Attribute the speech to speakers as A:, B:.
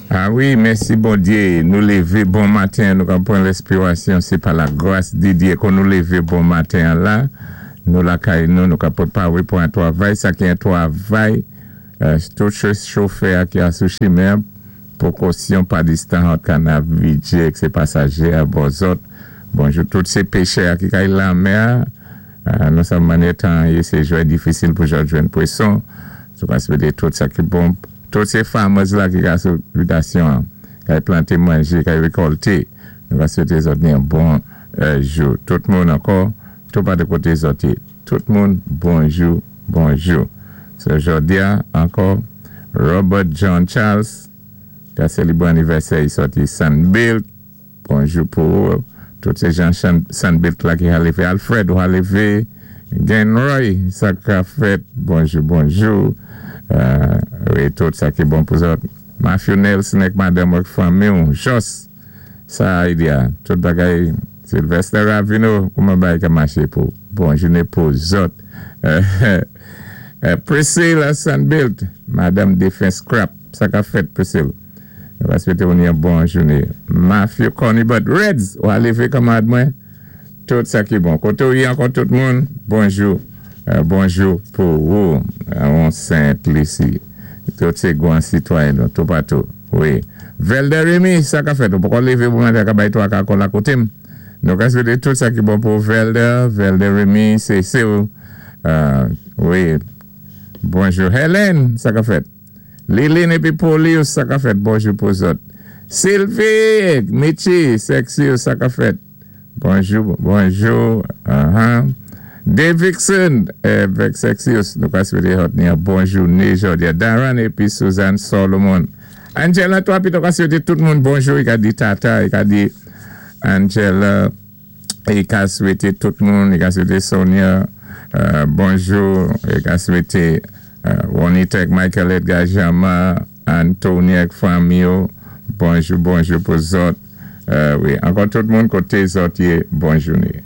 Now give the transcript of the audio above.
A: A wi, mèsi Bondyé, nou lévé bon maten, nou ka pran lèspirasyon, sé pa la gras di Dyé kon nou lévé bon maten an la, nou lakay nou, nou ka pwépawé pou an twavay, sa ki an twavay, tout chofè a ki a sou chimen, pwékosyon pa distan ant kanav vidjé ek sé pasajé a bò zòt. Bonjou tout sé péchè a ki kay lanmè a, nou sa mannyè tan an yé sé jwè difisil pou zòt jwenn pwéson, nou ka swété tout sa ki bon. Tout sé farmers la ki ka sou bitasyon an, kay planté manjé, kay rékòlté. Nou ka swété zòt ni yon bon jou. Tout moun ankò, tou patou koté zòt yé. Tout moun, bonjou, bonjou. So jòdi-a ankò, Robert John Charles ka sélébwé anivèsè i sòti Sunbelt. Bonjou pou ou. Tout sé jan Sunbelt la ki ha lévé. Alfred ou ha lévé. Genroy, sa ka fèt. Bonjou, bonjou. Wi, tout sa ki bon pou zòt. Matthew Nelson ek madanm ak fanmi ou. Jos, sa a idea. Tout bagay. Sylvester Ravino, kouman bagay ka maché pou. Bon jouné pou zòt. Priscilla Sunbelt, madanm défen Scrap. Sa ka fèt, Priscilla? Nou va swété ou ni yon bon jouné. Matthew Corny-Butt Reds, ou a lévé kanmarad mwen? Tout sa ki bon. Koté ou yé ankò tout moun, bonjou, bonjou pou ou. On Sent Lisi. Tout sé gwan sitwayen nou toupatou. Wi. Velder Remy, sa ka fèt? Ou poko lévé pou maten ka bay twaka kòl a koté m. Nou ka swété tout sa ki bon pou Velder, Velder Remy, sé sé ou. Wi. Bonjou Helen, sa ka fèt? Liline épi Paulius sa ka fèt bonjou pou zòt. Sylvie Mitchie Sexius sa ka fèt bonjou bonjou ahan Davidson avèk Sexius nou ka swété zòt ni yon bon jouné jòdi a Darren épi Suzanne Solomon Angela 3 pito ka swété tout moun bonjou i ka di tata i ka di Angela i ka swété tout moun i ka swété Sonia bonjou i ka swété Ronitec Michael Edgar Jean-Marc Anthony ak fanmi yo bonjou bonjou pou zòt wi ankò tout moun koté zòt yé bon jouné.